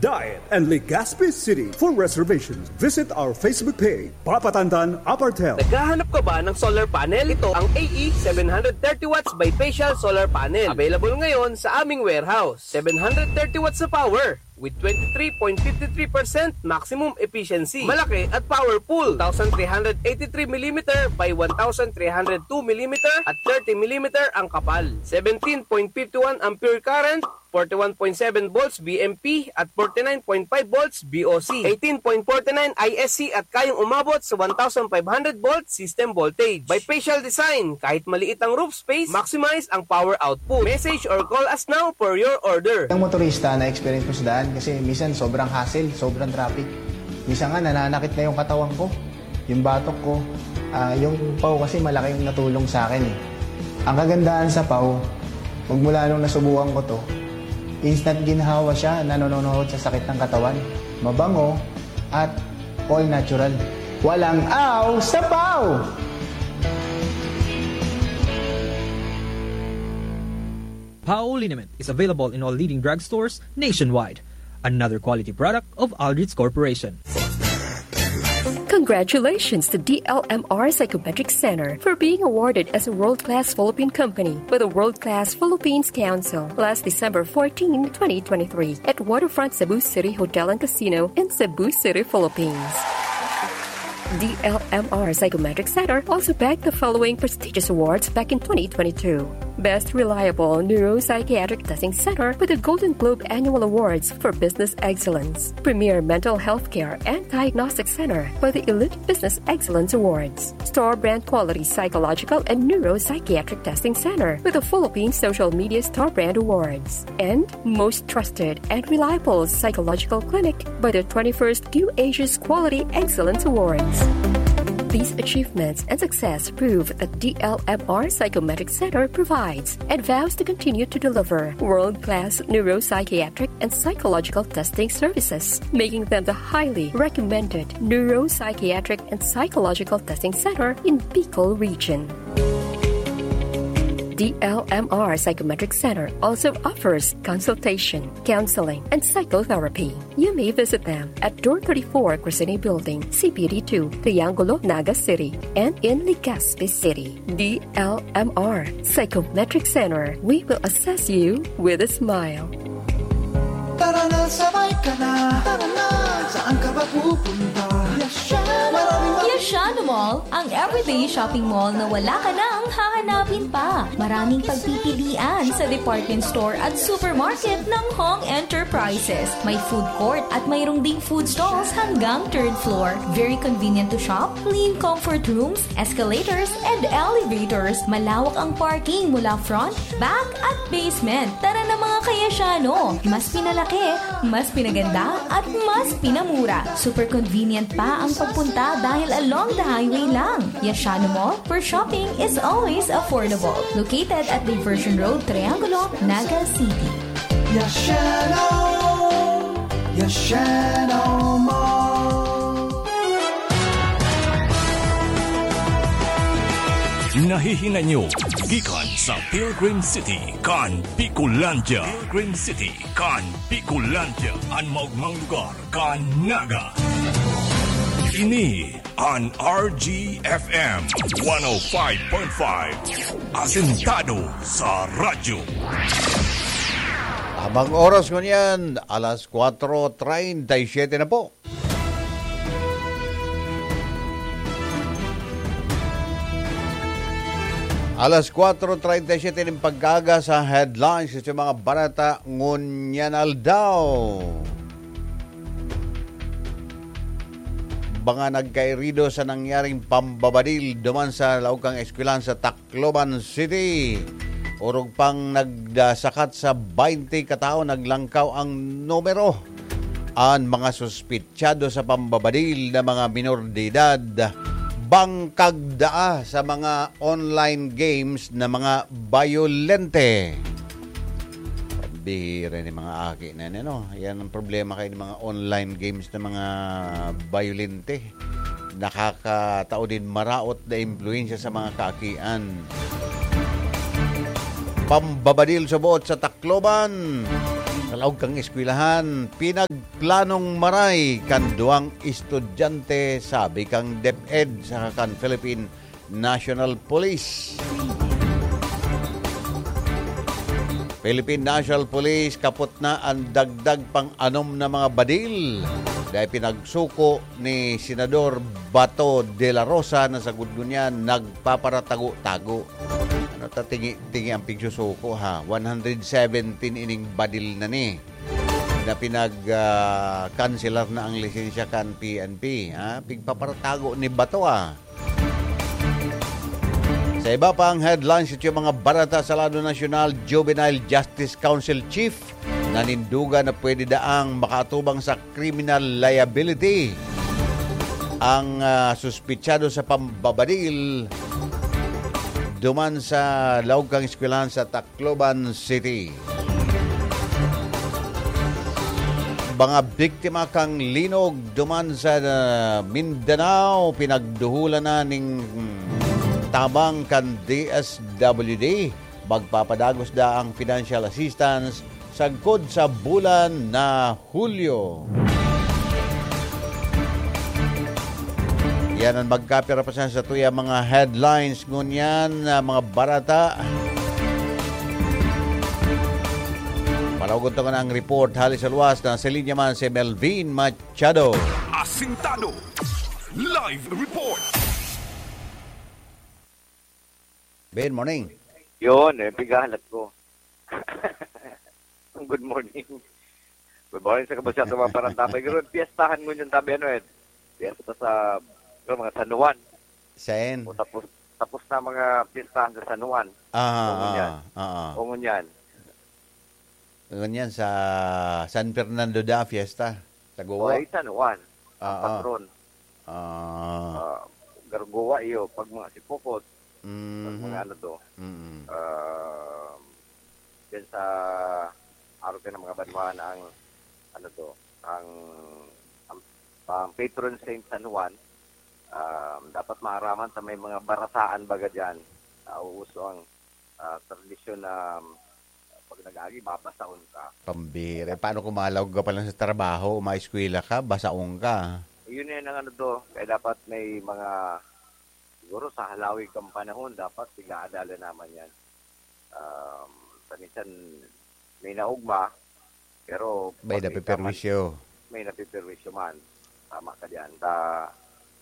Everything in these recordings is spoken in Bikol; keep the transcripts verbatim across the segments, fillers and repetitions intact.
Daet and Legazpi City. For reservations, visit our Facebook page, Papa Tantan Apartel. Naghahanap ka ba ng solar panel? Ito ang A E seven hundred thirty watts bifacial solar panel. Available ngayon sa aming warehouse. Seven hundred thirty watts na power with twenty-three point five three percent maximum efficiency. Malaki at powerful. Two thousand three hundred eighty-three millimeter by one thousand three hundred two millimeter at thirty millimeter ang kapal. Seventeen point five one ampere current, forty-one point seven volts B M P at forty-nine point five volts B O C, eighteen point forty-nine I S C at kayang umabot sa one thousand five hundred volt system voltage. Bifacial design, kahit maliit ang roof space, maximize ang power output. Message or call us now for your order. Ang motorista na experience ko sa daan kasi minsan sobrang hassle, sobrang traffic. Minsan nga nananakit na yung katawan ko, yung batok ko. Ah, yung paw kasi malaking natulong sa akin eh. Ang kagandahan sa paw, magmula nung nasubukan ko to, instant ginhawa siya, nanononohot sa sakit ng katawan. Mabango at all natural. Walang aw sa paw! Pao liniment is available in all leading drugstores nationwide. Another quality product of Aldrich Corporation. Congratulations to D L M R Psychometric Center for being awarded as a world-class Philippine company by the World Class Philippines Council last December fourteen, twenty twenty-three, at Waterfront Cebu City Hotel and Casino in Cebu City, Philippines. D L M R Psychometric Center also bagged the following prestigious awards back in twenty twenty-two. Best Reliable Neuropsychiatric Testing Center with the Golden Globe Annual Awards for Business Excellence, Premier Mental Health Care and Diagnostic Center for the Elite Business Excellence Awards, Store Brand Quality Psychological and Neuropsychiatric Testing Center with the Philippine Social Media Store Brand Awards, and Most Trusted and Reliable Psychological Clinic by the twenty-first Q Asia's Quality Excellence Awards. These achievements and success prove that D L M R Psychometric Center provides and vows to continue to deliver world-class neuropsychiatric and psychological testing services, making them the highly recommended neuropsychiatric and psychological testing center in Bicol Region. D L M R Psychometric Center also offers consultation, counseling, and psychotherapy. You may visit them at Door thirty-four, Crescene Building, C P D two, Triangulo, Naga City, and in Legazpi City. D L M R Psychometric Center, we will assess you with a smile. Tara na, sabay ka na. Tara na, saan ka ba pupunta? Yasha na. Maraming Yasha na Mall, ang everyday shopping mall na wala ka nang hahanapin pa. Maraming pagpipilian sa department store at supermarket ng Hong Enterprises. May food court at mayroong ding food stalls hanggang third floor. Very convenient to shop, clean comfort rooms, escalators, and elevators. Malawak ang parking mula front, back, at basement. Tara na, mga Kayasyano! Mas pinalaki, mas pinaganda, at mas pinamura. Super convenient pa ang pagpunta dahil along the highway lang. Yasha na Mall, where shopping is always affordable. Located at Diversion Road, Triangulo, Naga City. Yasha na! Yasha na Mall! Nahihinay nyo gikan sa Pilgrim City kan Bicolandia. Pilgrim City kan Bicolandia, an maogmang lugar kan Naga. Ini an R G F M one oh five point five, asentado sa radyo. Tamang oras ngunyan, alas kwatro treinta y siete na po. Alas kwatro treinta y siete nin pag-aga sa headlines sa mga balita ngunyan aldaw. Mga nagkairido sa nangyaring pambabadil duman sa laog kan eskwelahan sa Tacloban City. Orog pang nagsakat sa baynte katawo, naglangkaw ang numero. An mga suspetsado sa pambabadil na mga minor de edad, bangkag daa sa mga online games na mga bayolente. Bihira ni mga aki na yan, ano? Yan ang problema kayo ng mga online games na mga bayolente. Nakakatao din maraot na impluwensya sa mga kaakian. Pambabadil sa buot sa Tacloban. Sa laog kan eskwelahan, pinagplanong maray kan duwang estudyante, sabi kan DepEd saka kan Philippine National Police. Philippine National Police, kapot na an dagdag pang-anom na mga badil. Dai pinagsuko ni Senador Bato de la Rosa na sagkod ngunyan nagpaparatago-tago. Ano ta, tingi, tingi ang pigsusuko, ha? One hundred seventeen ining badil na ni, na pinag, ah, kanselar na ang lisensya kan P N P, ha? Pigpaparatago ni Bato, ah. Sa iba pang headlines, ito yung mga barata sa lado nasyonal, Juvenile Justice Council Chief nanindugan na pwede daang makaatubang sa criminal liability. Ang, ah, suspitsado sa pambabadil duman sa laog kan eskwelahan sa Tacloban City. Mga biktima kan linog duman sa, ah, Mindanao, pinagduhulan na nin tabang kan D S W D. Magpapadagos daang financial assistance sagkod sa bulan na Hulyo. Yan ang magkapira pa sa, sa tuya mga headlines ngunyan, ah, mga barata. Palaugon ta na ang report hali sa luwas. Nasa linya man si Melvin Machado. Asintado. Live report. Ben, morning. Yun, eh, pighahalat ko. Good morning. Good morning sa kabusyan sa mga parantapay. Pero piyestahan mo yung tabi, ano, eh. Piyesta sa, pero mga San Juan. Sen? O tapos, tapos na mga piyestahan sa San Juan. Ah, O, ngunyan. ah, ah. O, ngunyan. Ngunyan sa San Fernando da Fiesta, sa Goa. O, ay, San Juan. Ang Ah, ah. patron. Ah. Ah, Gargoa, iyo. Pag mga Sipokot, pag Mhm. mga ano to, Mm. ah, dyan sa arog kan mga banwaan ang, ano to, ang, ang, ang patron saint San Juan, um, dapat maaraman ta may mga barataan baga dyan. Nauuso ang, ah, tradisyon na, um, pag nag-agi, babasahon ka. Pambihira. Eh, paano kung malaog ka pa lang sa trabaho o maeskwela ka, basaong ka? Yun yan ang ano to. Kaya dapat may mga, siguro sa halawig kang panahon, dapat pig-aadalan naman yan. Um, paminsan, may naugma, pero May pag may napiperwisyo. tama, may napiperwisyo man. Tama ka diyan. Ta,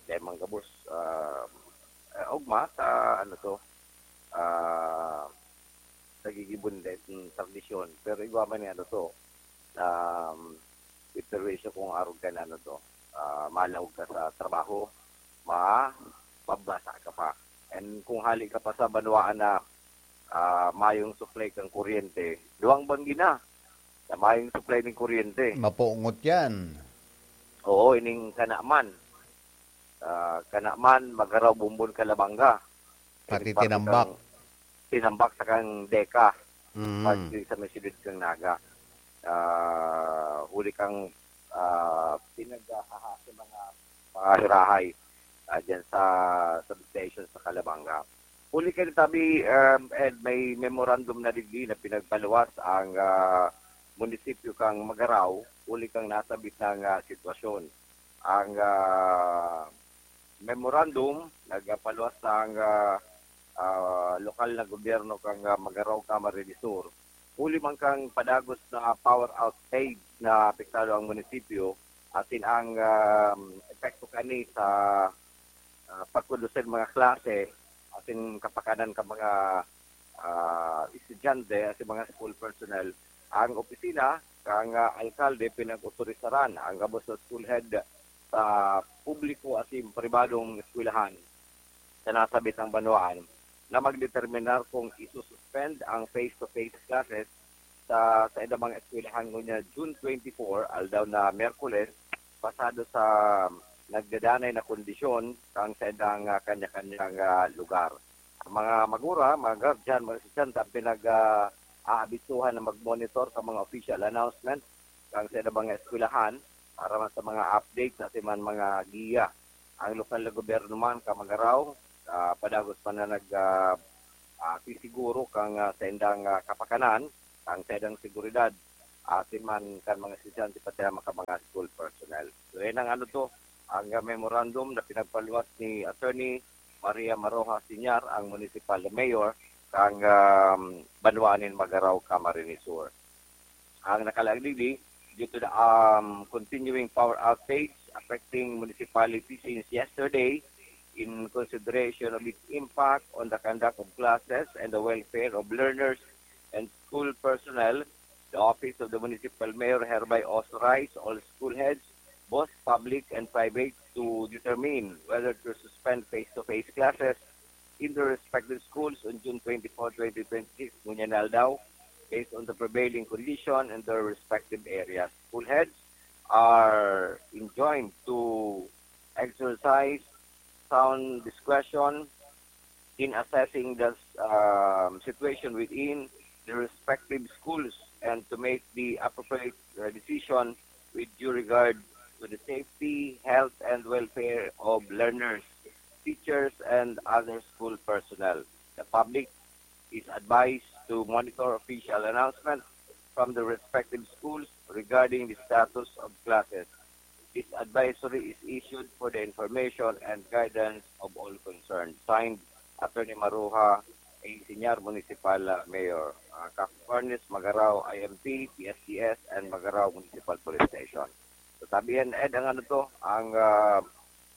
dahil manggabos, ah, eh, ugma, ta, ano to, ah, nagigibo na dahil tradisyon. Pero igwa man ni ano to, um, iperwisyo kung arog ka na ano to, ah, malaog ka sa trabaho, ma-, mabasa ka pa. And kung hali ka pa sa banwaan na, ah, mayong supply kang kuryente, duwang banggi na, na mayong supply ning kuryente. Mapungot yan. Oo, ining Kanaman. Ah, Kanaman, Magaraw, Bombon, Calabanga. Pati Ining parte Tinambak. kang Tinambak sa kang Deka. Mm. Parte sa may siyudad kang Naga. Ah, huli kang, ah, pinaghahaha sa mga, mga hirahay, ah, dyan sa substation sa Calabanga. Huli ka tabi, um, Ed, may memorandum na digdi na pinagpaluwas ang, ah, munisipyo kang Magarao, huli kang nasabit ng, ah, sitwasyon. Ang, ah, memorandum, nagpaluwas ang, ah, ah, lokal na gobyerno kang, ah, Magarao, Camarines Sur. Huli man kang padagos na power outage na apektado ang munisipyo, asin ang, ah, epekto kani sa, ah, pagkondusir mga klase, asin kapakanan ka mga, ah, estudyante, asin mga school personnel. Ang opisina kang, ah, alkalde pinag-otorisaran ang gabos na school head sa publiko asin pribadong eskwelahan sa nasabit ang banwaan na magdeterminar kung isususpend ang face-to-face classes sa, sa saindang mga eskwelahan ngunyan June twenty-four, aldaw na Miyerkules, pasado sa nagdadanay na kondisyon kan saindang, ah, kanya-kanyang, ah, lugar. Ang mga magura, mga guardian, mga estudyante ang pinag, ah, aabisuhan na mag-monitor sa mga official announcement kan saindang mga eskwelahan para man sa mga updates asin man mga giya. Ang lokal na gobyerno man kan Magarao, ah, padagos pa na nag, ah, ah, sisiguro kan, ah, saindang, ah, kapakanan, kan saindang seguridad. asin man kan mga estudyante, pati ang mga, mga school personnel. So, yan ang ano to, ang, ah, memorandum na pinagpaluwas ni Attorney Maria Maroja Siñar, ang municipal mayor, kang, um, banwaan nin Magarao, Camarines Sur. Ang nakalaagdigdi, due to the, um, continuing power outage affecting municipality since yesterday, in consideration of its impact on the conduct of classes and the welfare of learners and school personnel, the Office of the Municipal Mayor hereby authorize all school heads, both public and private, to determine whether to suspend face-to-face classes in their respective schools on June twenty-four, twenty twenty-six, ngunyan na aldaw, based on the prevailing condition in their respective areas. School heads are enjoined to exercise sound discretion in assessing the, um, situation within the respective schools and to make the appropriate, uh, decision with due regard to the safety, health, and welfare of learners, teachers, and other school personnel. The public is advised to monitor official announcements from the respective schools regarding the status of classes. This advisory is issued for the information and guidance of all concerned. Signed, Attorney Maruha A. Siñar, Municipal, uh, Mayor, uh, Capricornes, Magarao, I M T, P S T S, and Magarao Municipal Police Station. So, sabihin, Ed, ang ano to, ang, ah,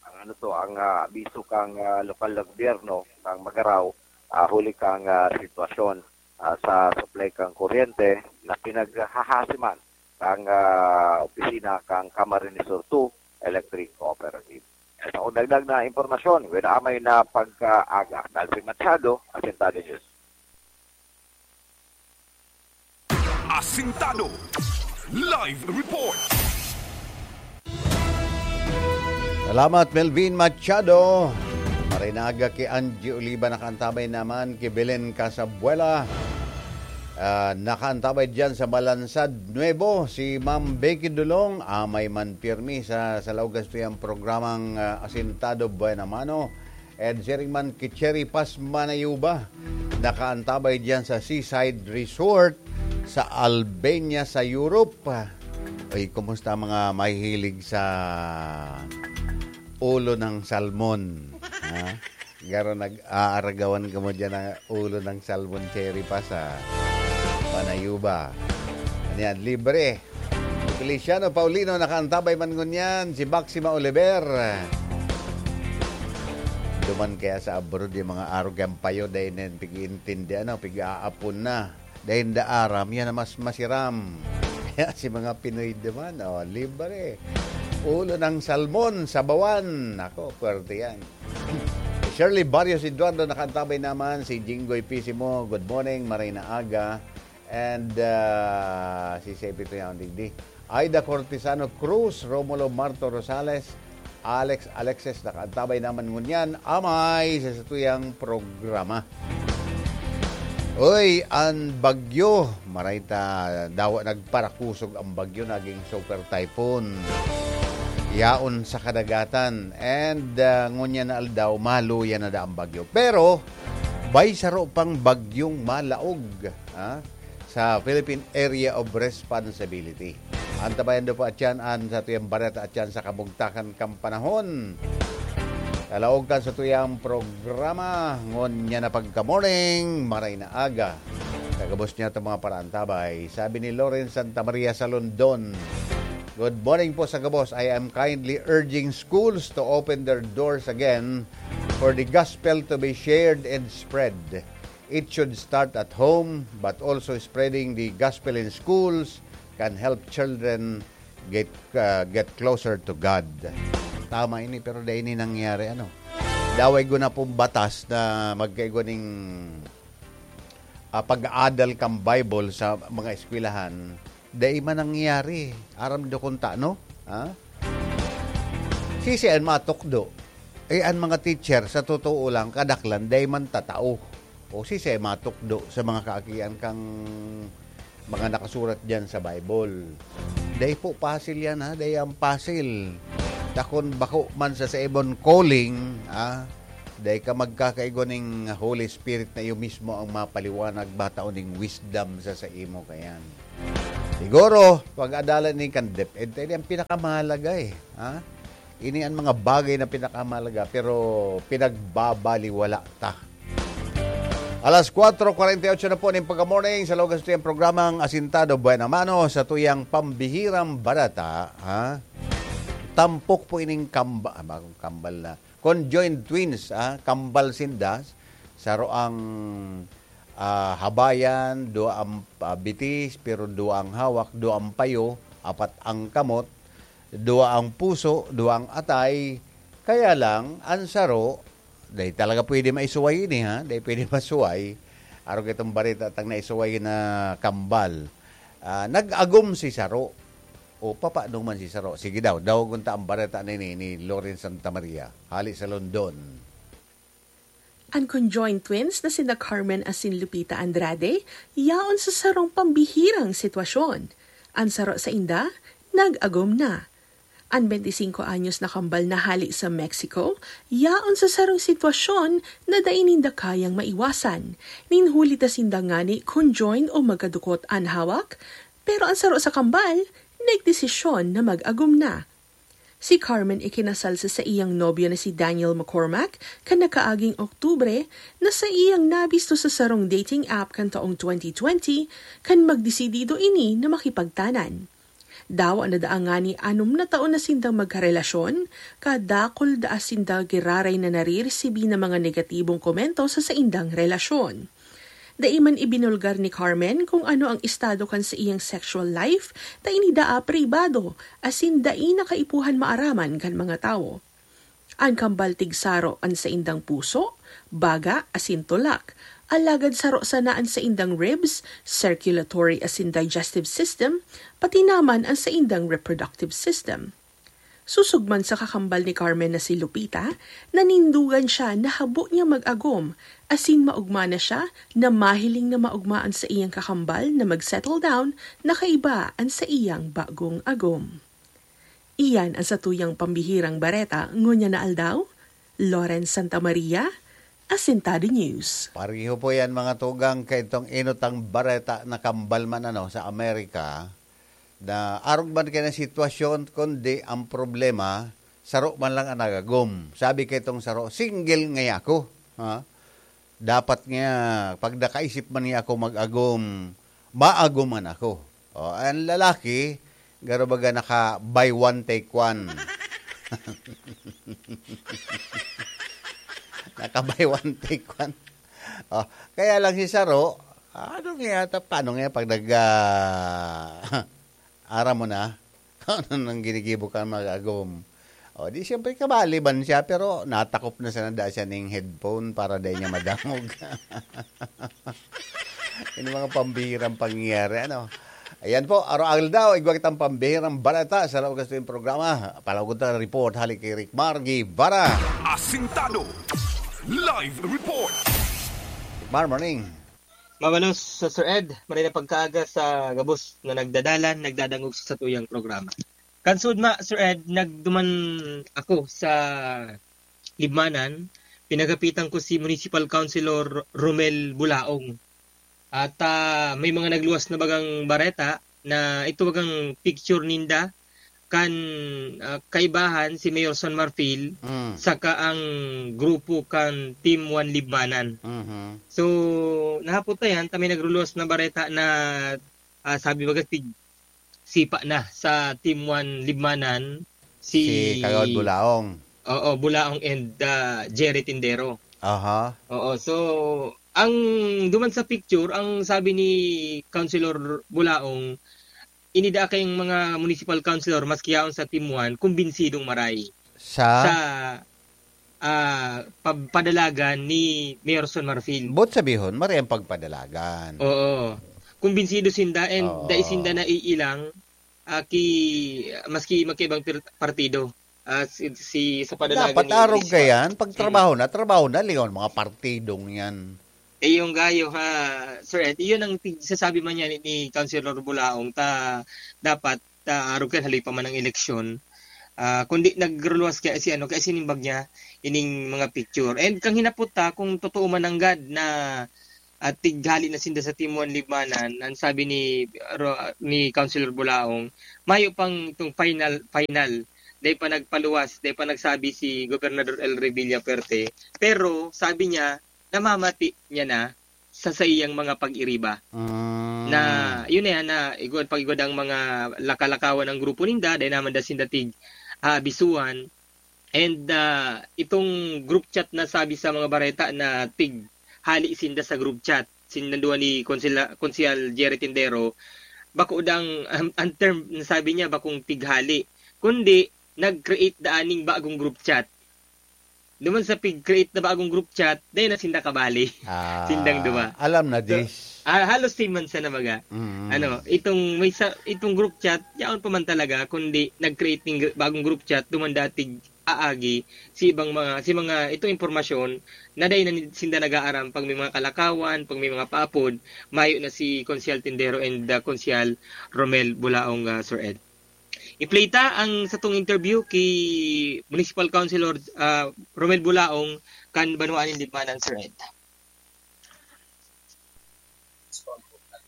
ang ano to, ang, ah, abiso kang, ah, lokal na gobyerno, kang Magarao, ah, huli kang, ah, sitwasyon, ah, sa supply kang kuryente na pinaghahasiman kang, ah, opisina kang Camarines Sur two Electric Cooperative. Sa dagdag na impormasyon, with amay na pagkaaga, Calvin Machado, Asintado News. Asintado. Live report. Salamat, Melvin Machado. Maray na aga ki Angie Oliva, nakaantabay naman ki Belen Casabuela. Ah, nakaantabay diyan sa Balansad Nuevo, si Ma'am Becky Dulong, amay man pirmi sa, sa laog kan saiyang programang, ah, Asintado Buena Mano. And siring man ki Cherry Paz Manayuba, nakaantabay diyan sa Seaside Resort sa Albania, sa Europe. Uy, kumusta mga mahihilig sa ulo ng salmon? Ha? Garo nag-aaragawan kamo diyan ng ulo ng salmon, Cherry Paz, ha? Manayuba. Ano yan? Libre. Feliciano Paulino, nakaantabay man ngunyan. Si Maxima Oliver. Duman kaya sa abroad yung mga arog yang payo, dahil na yan, pig-iintindi, ano, pig-aapon na. Dahil da aram, yan na mas masiram. Kaya si mga Pinoy duman, oh, libre. Ulo ng salmon, sabawan. Ako, pwerte yan. Shirley Barrios Eduardo, nakaantabay naman. Si Jinggoy Pisimo, good morning, maray na aga. And, ah, si Sepi Tuyaw, digdi. Aida Cortesano Cruz, Romulo Marto Rosales, Alex Alexis, nakaantabay naman ngunyan, amay sa satuyang programa. Uy, an bagyo, maray ta, dawa nagparakusog ang bagyo, naging super typhoon. Yaon sa kadagatan. And, ah, ngunyan na aldaw, maluya na da ang bagyo. Pero, bay saro pang bagyong malaog, ha? Sa Philippine Area of Responsibility. Antabayan daw po atyan an satuyang bareta atyan sa kabugtakan kan panahon. Sa laog kan satuyang programa, ngunyan na pagka-morning, maray na aga. Sa gabos niya itong mga paraantabay, sabi ni Lawrence Santa Maria sa London, "Good morning po sa gabos. I am kindly urging schools to open their doors again for the gospel to be shared and spread. It should start at home, but also spreading the gospel in schools can help children get, uh, get closer to God." Tama ini, pero dai ini nangyari, ano. Daway guna pong batas na magkaigwa ning, ah, pag-aadal kan Bible sa mga eskwelahan, dai man nangyari. Aram do kung ta, no? Ha? Sisi an matukdo. Eh, an mga teacher, sa totoo lang, kadaklan, dai man tatao. O sisi an matukdo sa mga kaakian kang mga nakasurat diyan sa Bible. Dai po pasil yan, ha? Dai yan pasil. Ta kun bako man sa saimon calling, ha? Dai ka magkakaigwa ning Holy Spirit na iyo mismo ang mapaliwanag, matao ning wisdom sa saimo kayan. Siguro, pag-adalan ni kan DepEd, tayo ang pinakamahalaga eh. Ha? Ini ang mga bagay na pinakamahalaga, pero pinagbabaliwala ta. Alas kwatro kwarenta y ocho na po ning pagka-morning sa Logan Studio ang programang Asintado Buena Mano sa tuyang pambihirang bareta, ha? Tampok po ining kamba-, ah, bagong kambal na. Conjoined twins, ah, kambal sinda. Saro ang, ah, habayan, dua ang, ah, bitis, pero dua ang hawak, dua ang payo, apat ang kamot, dua ang puso, dua ang atay. Kaya lang, ang saro, dai talaga pwede maisuway ini, ha? Dai pwede masuway. Arog itong bareta tang naisuway na kambal. Ah, nag-agom si saro. O, papaano man si saro? Sige daw, dawagon ta ang bareta ni, ni, ni Loren Santa Maria. Hali sa London. An conjoined twins na sina Carmen asin Lupita Andrade yaon sa sarong pambihirang sitwasyon. An saro sainda, nag-agom na. An bente singko anyos na kambal na hali sa Mexico, yaon sa sarong sitwasyon na dai ninda kayang maiwasan. Nin huli ta sinda ngani conjoined o magkadukot an hawak, pero an saro sa kambal, nagdesisyon na mag-agom na. Si Carmen ikinasal sa saiyang nobyo na si Daniel McCormack kan nakaaging Oktubre, na saiyang nabisto sa sarong dating app kan taong twenty twenty, kan magdesidido ini na makipagtanan. Dawa na daa ngani anom na taon na sindang magkarelasyon, kadakul daa sinda giraray na nariresibi na mga negatibong komento sa saindang relasyon. Dai man ibinulgar ni Carmen kung ano ang estado kan saiyang sexual life, ta ini daa pribado, asin dai na kaipuhan maaraman kan mga tawo. An kambal tigsaro an saindang puso, baga, asin tulak. Alagad saro sana an saindang ribs, circulatory asin digestive system, pati naman an saindang reproductive system. Susog man sa kakambal ni Carmen na si Lupita, nanindogan siya na habo niya mag-agom, asin maogma na siya na mahiling na maogma an saiyang kakambal na mag-settle down na kaiba an saiyang bagong agom. Iyan an satuyang pambihirang bareta ngunyan na aldaw. Loren Santa Maria, Asintado News. Pareho po yan, mga tugang, kay itong inutang bareta na kambal man, ano, sa Amerika, na arog man kaya ng sitwasyon, kundi ang problema, saro man lang ang nagagom. Sabi kay itong saro, "Single ngaya ako." Ha? Dapat nga, pag nakaisip man niya ako mag-agom, maagoman ako. O, ang lalaki, garo baga naka buy one, take one. Naka buy one, take one. O, kaya lang si Saro, ano nga yata, paano nga pag nag, ah, aram mo na? Ano nang ginigibo ka mag-agom? O, di siyempre kabali man siya, pero natakop na sana daa siya ning headphone para dai niya madangog. Ini mga pambihirang pangyayari, ano? Ayan po, araw-araw daw, igwa kitang pambihirang balita sa laog sa iyong programa. Palawag ta report, hali kay Rick Mar Guevara. Asintado. Live report. Mar, morning. Mabalos sa Sir Ed, maray na pagkaaga sa gabos na nagdadalan, nagdadangog sa satuyang programa. Kansud ma, Sir Ed, nagduman ako sa Libmanan, pinagapitan ko si Municipal Councilor Romel Bulaong. At, ah, may mga nagluwas na bagang bareta na ito bagang picture ninda kan, ah, kaibahan si Mayor San Marfil Mm. saka ang grupo kan Team One Libmanan. Mhm. So, nahapot na yan, ta may nagruluwas na bareta na, ah, sabi baga si, sipa na sa Team One Libmanan, si Si Kagawad Bulaong. Oo, Bulaong and, ah, Jerry Tindero. Aha. Oo, so, ang duman sa picture, ang sabi ni Councilor Bulaong, ini daa kayong mga municipal councilor, maski yaon sa Team One, kumbinsidong maray Sa? sa, ah, pag-, padalagan ni Mayor Son Marfil. Boot sabihon, maray ang pagpadalagan. Oo. Kumbinsido sinda and Oo. dai sinda naiilang, ah, ki-, maski magkaibang pir-, partido. Ah, si, si, sa padalagan Dapat ni arog Elisa. kayan, pag Mm. trabaho na, trabaho na, lingaw mga partidong yan. Eh, yung gayo, ha, Sir Ed, iyon ang tig-, sasabi man niya ni, ni Councilor Bulaong, ta, dapat, ta, arog kan haloy pa man ang eleksyon. Ah, kundi nagruluwas kaya si, ano, kaya sinimbag niya, ining mga picture. And kang hinapot ta, kung totoo man nanggad na at tighali na sinda sa Team One Libmanan, ang sabi ni Ro-, ni Councilor Bulaong, mayo pang itong final, final. Dai pa nagpaluwas, dai pa nagsabi si Gobernador Elry Villafuerte. Pero sabi niya, namamati niya na sa saiyang mga pag-iriba. Mm. Na, yun na yan, na igwad pag-igwad ang mga lakalakawan ng grupo ninda, dai naman da sinda tig aabisuhan. And, ah, itong group chat na sabi sa mga bareta na tig hali sinda sa group chat, sinda duwa ni Konsila-, Konsehal Jerry Tindero, bako dang, ang, ang term na sabi niya, bakong tighali, kundi nag-create da aning bagong group chat. Duman sa pig-create na bagong group chat, dai na sinda kabali. Ah, Sindang duwa. Alam na So, this. ah, halos same man sana baga. Mm. Ano, itong may sa, itong group chat, yaon pa man talaga, kundi nag-create ning gr-, bagong group chat, duman datig aagi si ibang mga, si mga, itong impormasyon na dai na ni-, sinda nag-aaram pag may mga kalakawan, pag may mga paapod, mayo na si Konsehal Tindero and, ah, Konsehal Romel Bulaong, ah, Sir Ed. I-play ta ang satong interview ki Municipal Councilor, ah, Romel Bulaong kan Banwaan nin Libmanan, Sir Ed.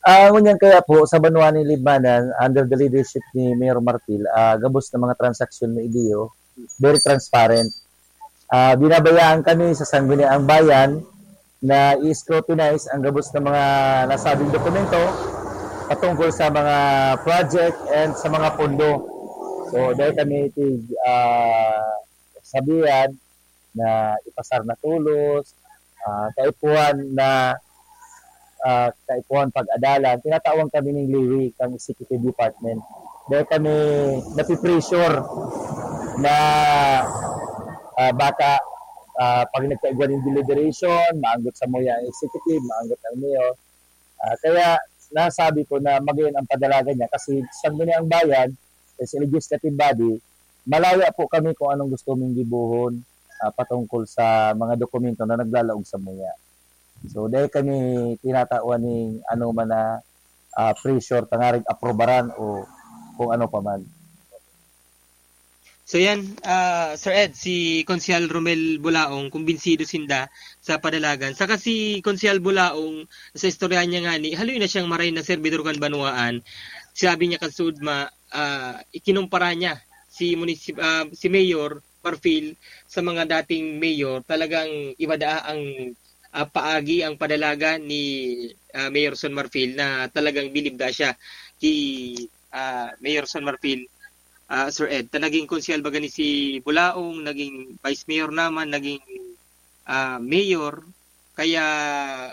Ah, ngunyan kaya po, sa Banwaan nin Libmanan, under the leadership ni Mayor Marfil, ah, gabos na mga transaksyon na idiyo, very transparent. Ah, binabayaan kami sa Sangguniang Bayan na i-scrutinize ang gabos na mga nasabing dokumento patungkol sa mga project and sa mga pondo. So, dai kami tig, ah, sabihan na ipasar na tolos, ah, kaipuhan na, ah, kaipuhan pag-adalan, tinatawan kami ning leeway kan executive department. Dai kami napipressure na, ah, baka, ah, pag nagkaigwa nin deliberation, maanggot samuya ang executive, maanggot ang mayor. Ah, kaya nasabi ko na magayon ang padalagan niya kasi Sangguniang Bayan, sa legislative body, malaya po kami kung anong gusto ming gibohon, ah, patungkol sa mga dokumento na naglalaog samuya. So, dai kami tinatawan ning anoman na, ah, pressure tangarig aprobaran o kung ano pa man. So yan, ah, Sir Ed, si Konsehal Romel Bulaong, kumbinsido sinda sa padalagan. Saka si Konsehal Bulaong, sa istorya niya ngani, haloy na siyang maray na serbidor kan banwaan. Sabi niya kan Sudma, ah, ikinumpara niya si munisip-, ah, si Mayor Marfil sa mga dating mayor. Talagang iba daa ang, ah, paagi, ang padalagan ni, ah, Mayor Son Marfil na talagang bilib da siya ki, ah, Mayor Son Marfil, ah, Sir Ed. Ta naging konsehal baga ni si Bulaong, naging vice mayor naman, naging, ah, mayor. Kaya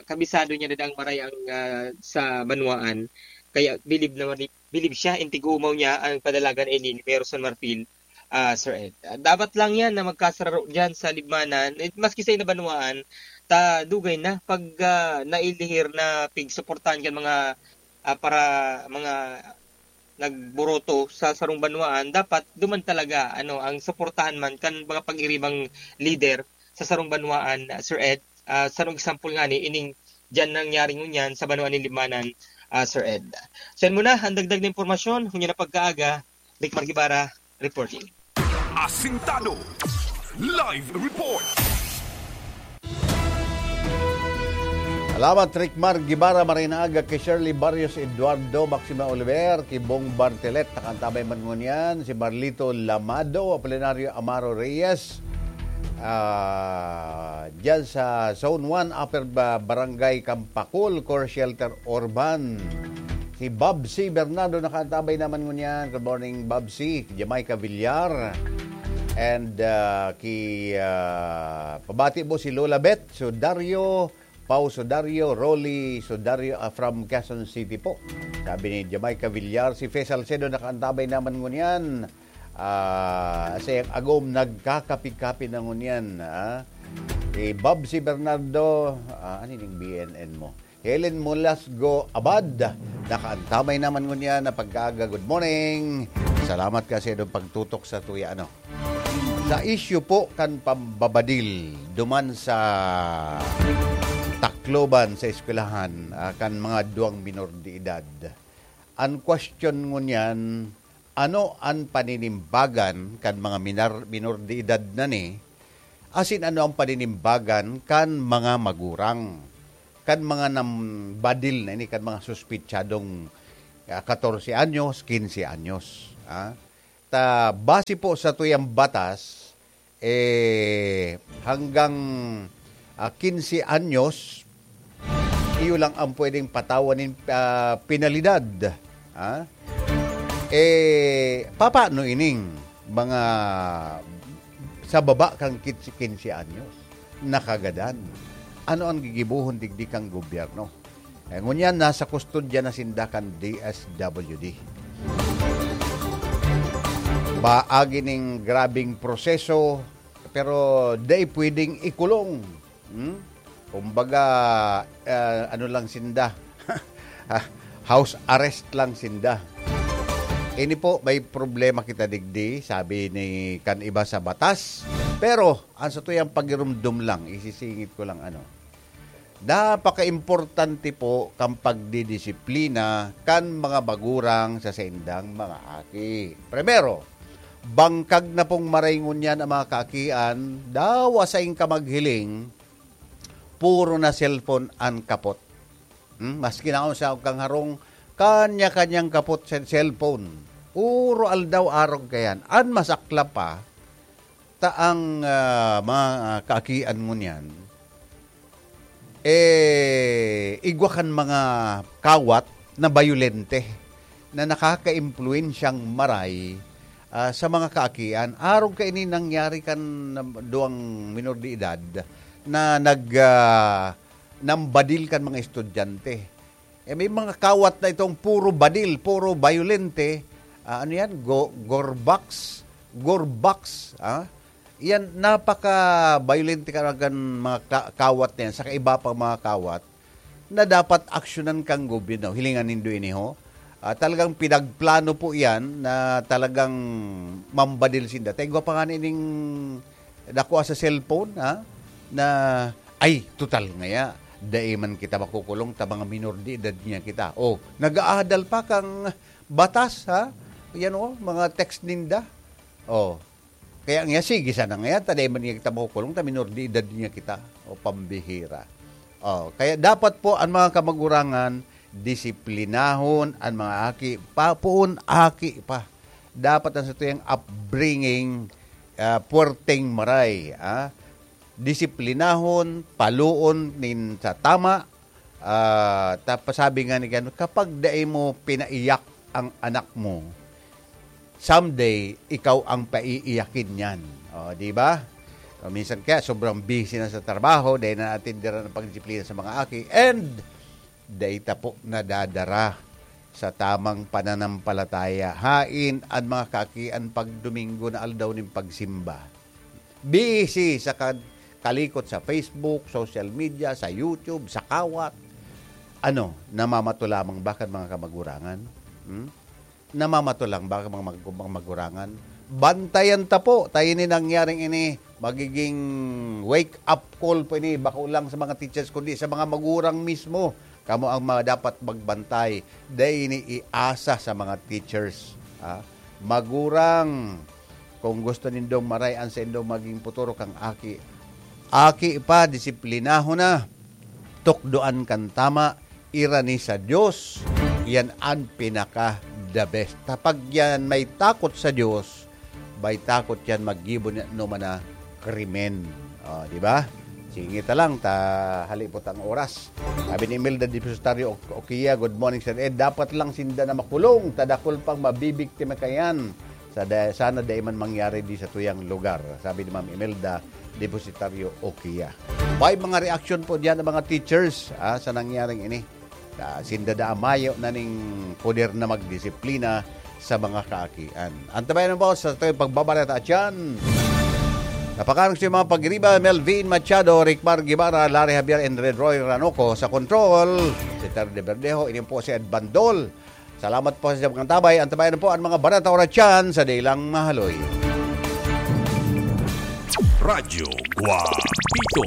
kabisado niya na daang maray ang, ah, sa banwaan. Kaya bilib naman ni, bilib siya, in tig-umaw niya ang padalagan ini ni Mayor Son Marfil, ah, Sir Ed. Ah, dapat lang yan na magkasararo dyan sa Libmanan. Eh, maski sa ina banwaan, ta dugay na pag, ah, nailihir na pigsuportahan kan mga, ah, para mga nagburoto sa sarong banwaan, dapat duman talaga, ano, ang suportahan man kan mga pag-iribang lider sa sarong banwaan, ah, Sir Ed. Ah, sarong example ngani, ining diyan nangyari ngunyan sa banwaan nin Libmanan, ah, Sir Ed. So, yan muna ang dagdag na impormasyon. Ngunyan na pagkaaga, Rick Margibara, reporting. Asintado. Live report. Salamat, Rick Mar Guevara, maray na aga ki Shirley Barrios, Eduardo Maxima Oliver, ki Bong Bartelet, nakaantabay man ngunyan, si Marlito Lamado, Apolinario Amaro Reyes, ah, dyan sa Zone one, Upper Ba-, Barangay Campacul, Core Shelter Urban. Si Bob C. Bernardo nakaantabay naman ngunyan. Good morning, Bob C. Jamaica Villar. And, ah, ki, ah, pabati po si Lola Beth Sudario, Pau Sudario, Rolly Sudario, ah, from Quezon City po. Sabi ni Jamaica Villar, si Fe Salcedo nakaantabay naman ngunyan. Ah, sa iyang agom, nagkakapi-kapi na ngunyan, ah. Si Bob C. Bernardo, ah, ano yung B N N mo? Helen Molasgo Abad, nakaantabay naman ngunyan na pagkaaga. Good morning. Salamat kasi doon pagtutok sa tuya, ano. Sa issue po kan pambabadil duman sa Tacloban, sa eskwelahan, ah, kan mga duwang minor de edad. Ang question ngunyan, ano an paninimbagan kan mga minar-, minor de edad na ni? Asin ano ang paninimbagan kan mga magurang? kan mga nambadil na ini, kan mga suspitsadong, ah, katorse anyos, kinse anyos, ah. Ta base po sa tuyang batas, eh, hanggang, ah, kinse anyos, iyo lang ang pwedeng patawan nin, ah, penalidad, ah. Eh, papaano ining mga sa baba kan kinse, kinse anyos? Nakagadan. Ano ang gigibohon digdi kan gobyerno? Eh, ngunyan, nasa kustodya na sinda kan D S W D. Paagi ning grabeng proseso, pero dai pwedeng ikulong. Hmm? Kumbaga, ah, ano lang sinda, ah, house arrest lang sinda. Ini po, may problema kita digdi, sabi ni kan iba sa batas. Pero, ang sa tuyang pagirumdom lang, isisingit ko lang ano, napaka-importante po kan pagdidisiplina kan mga magurang sa saindang mga aki. Primero, bangkag na pong maray ngunyan ang mga kaakian, dawa saing ka maghiling, puro na cellphone an kapot. Hmm? Maski na sa kang harong, kanya-kanyang kapot sa cellphone. Puro aldaw arog kayan. An masaklap pa, ta ang, ah, mga kaakian ngunyan, eh, igwa kan mga kawat na bayolente na nakakaimpluwensyang maray, ah, sa mga kaakian. Arog kaini nangyari kan duwang minor de edad na nag, ah, nambadil kan mga estudyante. Eh, may mga kawat na itong puro badil, puro bayolente. Ah, ano yan? Go-, Gorbax? Gorbax, ah? Yan, napaka-bayolente talaga ng mga ka-, kawat na yan, saka iba pang mga kawat na dapat aksyonan kang gobyerno. Hilingan nindo ini, ho. Ah, talagang pinagplano po yan na talagang mambadil sinda. Ta igwa pa nga na ining dakua sa cellphone, ha? Na, "Ay, total ngaya, dai man kita makukulong ta mga minor de edad niya kita." Oh, nag-aadal pa kang batas, ha? Yan, oh, mga text ninda. Oh. Kaya nga, sige sana nga yan, ta dai man niya kita makukulong, ta minor de edad niya kita. O, pambihira. O, kaya dapat po ang mga kamagurangan, disiplinahon ang mga aki, pa, poon aki pa. Dapat ang satuyang upbringing, ah, puwerteng maray, ah. Disiplinahon, paloon nin sa tama, Ah, tapos sabi nga ni Gano, "Kapag dai mo pinaiyak ang anak mo, someday, ikaw ang paiiyakin niyan." O, di ba? O, minsan kaya sobrang busy na sa trabaho, dai na naatenderan ang pagdisiplina sa mga aki, and dai ta po nadadara sa tamang pananampalataya. Hain an mga kaakian pag Domingo na aldaw nin pagsimba. Busy sa kad-, kalikot sa Facebook, social media, sa YouTube, sa kawat. Ano, namamato lamang ba kan mga kamagurangan? Hmm? Namamato lang ba kan mga mag-, mga magurangan? Bantayan ta po, ta ini nangyaring ini, magiging wake-up call po ini, bako lang sa mga teachers, kundi sa mga magurang mismo. Kamo ang mga dapat magbantay. Dai ini iasa sa mga teachers, ha? Magurang, kung gusto nindong maray an saindong maging futuro kang aki, aki pa, disiplinahon na, tukdoan kan tama, irani sa Dios, yan an pinaka the best. Kapag yan may takot sa Dios, may takot yan maggibo ni anoman na krimen. O, di ba? Sige ta lang, ta halipot ang oras. Sabi ni Imelda Depositario Oc-, Okia, "Good morning, Sir Ed. Dapat lang sinda na makulong, ta dakul pang mabibiktima kayan. Sa da-, sana dai man mangyari di sa tuyang lugar," sabi ni Ma'am Imelda Depositario Okia. May mga reaksyon po diyan ng mga teachers, ah, sa nangyaring ini. Ah, sinda da mayo na ning poder na magdisiplina sa mga kaakian. Antabayan mo sa tuyang pagbabalita dyan. Napakarang sa mga pagriba, Melvin Machado, Ricmar Guevara, Larry Javier, and Red Roy Ranoco sa control. Si Terry De Verdejo, ini po si Ed Bandol. Salamat po sa mga tabay. Antabayan po ang mga barata oras dyan sa Dailang Mahaloy. Radyo Guapito.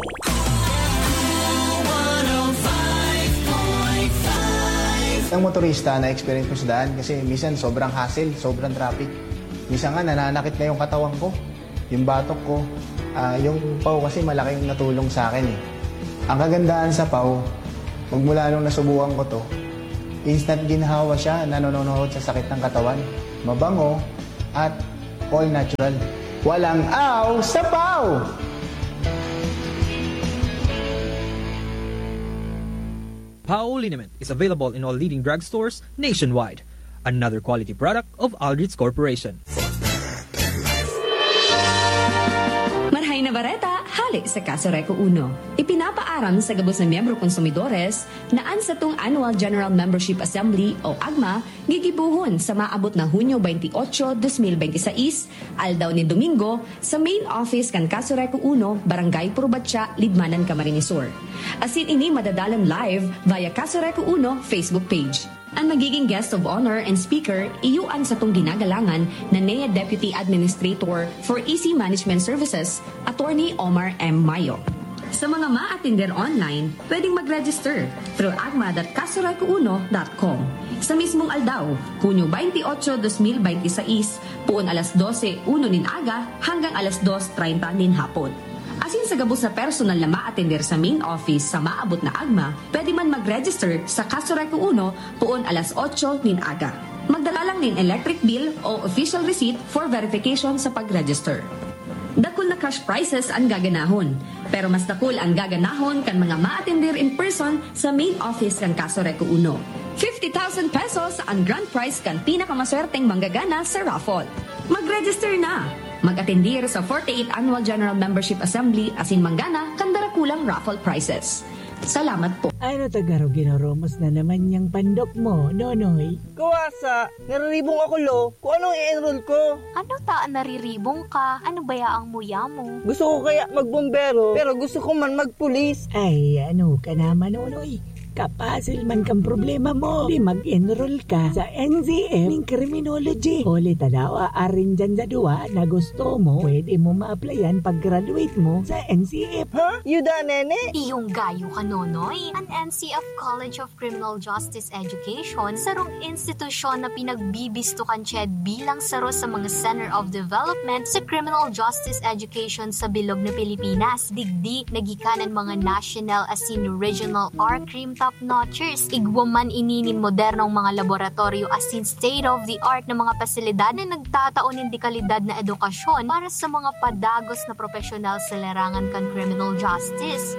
Ang motorista na experience ko sa daan kasi minsan sobrang hassle, sobrang traffic. Minsan nga nananakit na yung katawan ko, yung batok ko. Ah, yung paw kasi malaking natulong sa akin eh. Ang kagandahan sa paw, Magmula nung nasubukan ko to, instant ginhawa siya na nanonood sa sakit ng katawan. Mabango at all natural. Walang aw sa paw! Pao liniment is available in all leading drugstores nationwide. Another quality product of Aldrich Corporation. Marhay na bareta, hale sa Kaso Reco Uno. Ipinapaaram sa gabos na miyembro konsumidores na an satong Annual General Membership Assembly o agma gigibohon sa maabot na Hunyo twenty-eight, twenty twenty-six, aldaw nin Domingo, sa main office kan Kaso Reco Uno, Barangay Purubatya, Libmanan, Camarines Sur. Asin ini madadalan live via Kaso Reco Uno Facebook page. An magiging guest of honor and speaker, iyo an satong ginagalangan na N E A Deputy Administrator for E C Management Services, Attorney Omar M. Mayo. Sa mga maatender online, pwedeng mag-register through agma dot kasoreco uno dot com. Sa mismong aldaw, Hunyo twenty-eight, twenty twenty-six, puon alas dose uno nin aga hanggang alas dos treinta nin hapon. Asin sa gabos na personal na maatender sa main office sa maabot na agma, pwede man mag-register sa Kaso Reco Uno puon alas otso nin aga. Magdala lang nin electric bill o official receipt for verification sa pag-register. Dakul na cash prizes ang gaganahon, pero mas dakul ang gaganahon kan mga maatender in person sa main office kan Kaso Reco Uno. Fifty thousand pesos ang grand prize kan pinakamaswerteng manggagana sa raffle. Mag-register na! Mag-atendir sa forty-eighth Annual General Membership Assembly asin manggana kan darakulang raffle prizes. Salamat po. Ano ta garo ginoromos na naman yang pandok mo, Nonoy? Kuwasa, nariribong ako, lo. Kung anong i-enroll ko. Ano ta an nariribong ka? Ano baya ang muya mo? Gusto ko kaya magbombero, pero gusto ko man magpulis. Ay, ano ka naman, Nonoy? Kapasil man kan problema mo. Di mag-enroll ka sa N C F ning criminology. Huli ta daw, aarin dyan sa duwa na gusto mo, pwede mo ma-applyan pag-graduate mo sa N C F. Ha? Yuda, nene? Iyong gayo ka, Nonoy. An N C F College of Criminal Justice Education, sarong institusyon na pinagbibisto kan CHED bilang saro sa mga center of development sa criminal justice education sa bilog na Pilipinas. Digdi, nagikan an mga national asin regional R-Crime top notchers. Igwa man ini nin modernong mga laboratoryo asin state-of-the-art na mga pasilidad na nagtatao nin dekalidad na edukasyon para sa mga padagos na propesyonal sa larangan kan criminal justice.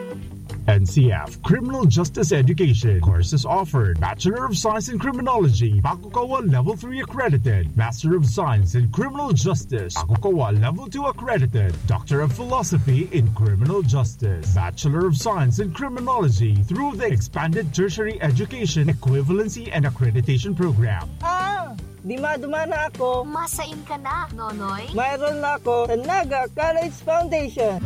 N C F, Criminal Justice Education. Courses offered: Bachelor of Science in Criminology, Bakukawa Level three accredited; Master of Science in Criminal Justice, Bakukawa Level two accredited; Doctor of Philosophy in Criminal Justice, Bachelor of Science in Criminology through the Expanded Tertiary Education Equivalency and Accreditation Program. Ah! Di madumana ako. Masain ka na, Nonoy? Mayroon na ako sa Naga College Foundation.